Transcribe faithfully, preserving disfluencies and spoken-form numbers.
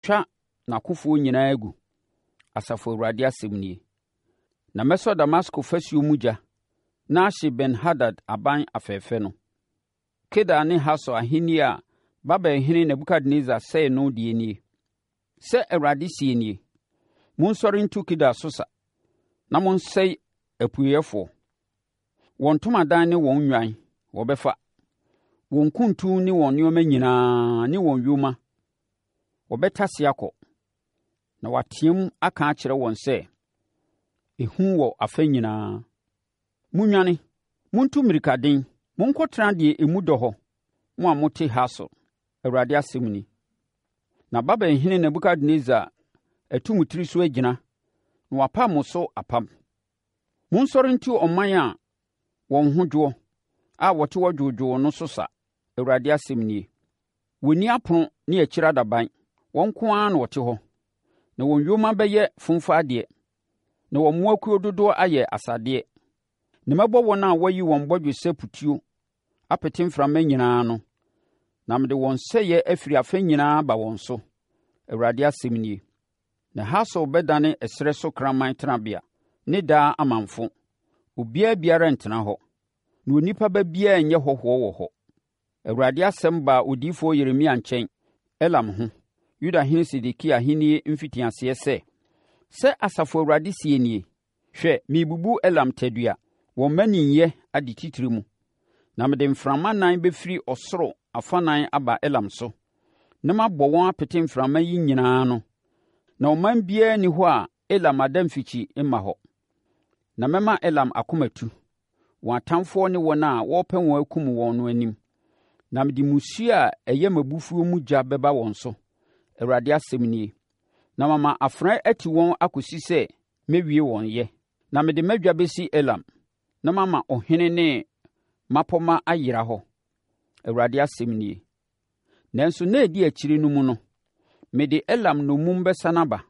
matwa n'akofoɔ nyinaa agu, Asafo Awurade asɛm nie. Na mɛsɔ Damasko fasuo mu gya na ahye Ben-Hadad aban afɛfɛ no. Kedar ne Hasor ahennie a Babelhene Nebukadnessar sɛee no deɛ nie. Sɛ Awurade seɛ nie: Monsɔre ntu Kedar so sa, na monsɛe apueeɛfoɔ. Wɔn ntomadan ne wɔn nnwan, wɔbɛfa. Wɔn kuntu ne wɔn nneɛma nyinaa ne wɔn yoma, wɔbɛtase akɔ. Na wɔateam aka akyerɛ wɔn sɛ, “Ehu wɔ afa nyinaa! Monnwane! Montu mmirikaden! Monkɔtena deɛ emu dɔ hɔ, mo a mote Hasor!” Awurade asɛm ni. Na Babelhene Nebukadnessar atu mo tiri so agyina na wapam mo so apam. Monsɔre ntu ɔman a wɔn ho dwoɔ, a wɔte hɔ dwoodwoo no so sa, Awurade asɛm nie. Wɔnni apono ne akyire adaban, wɔn nko ara na wɔte hɔ. Na wɔn yoma bɛyɛ fomfa adeɛ, na wɔn mmoakuo dodoɔ ayɛ asadeɛ. Na mɛbɔ wɔn a wɔayi wɔn bɔgyesɛ putuo apete mframa nyinaa no, na mede wɔn sɛeɛ afiri afa nyinaa aba wɔn so, Awurade asɛm nie. Na Hasor bɛdane ɛserɛ so kraman tenabea ne daa amamfo. Obiara biara rentena hɔ, na onipa ba biara renyɛ hɔhoɔ wɔ hɔ. Awurade asɛm baa odiyifoɔ Yeremia nkyɛn, Elam ho, Yudahene Sedekia ahennie mfitiaseɛ sɛ, Sɛ Asafo Awurade seɛ nie: Hwɛ, merebubu Elam tadua, wɔn mmaninyɛ ade titire mu, na mede mframa nan bɛfiri ɔsoro afanan aba Elam so, na mabɔ wɔn apete mframa yi nyinaa ano, na ɔman biara nni hɔ a Elam adamfikyi mma hɔ. Na mɛma Elam akoma atu, wɔn atamfoɔ ne wɔn a wɔrepɛ wɔn akum wɔn no anim, na mede mmusuo a ɛyɛ m'abufuo mu gya bɛba wɔn so, Awurade asɛm nie, na mama afena ati wɔn akɔsi sɛ mɛwie wɔn yɛ. Na mede m'adwa bɛsi Elam, na mama ɔhene ne mmapɔmma ayera hɔ, Awurade asɛm nie. Nanso nna a ɛdi akyire no mu no, mede Elam nnommum bɛsane aba,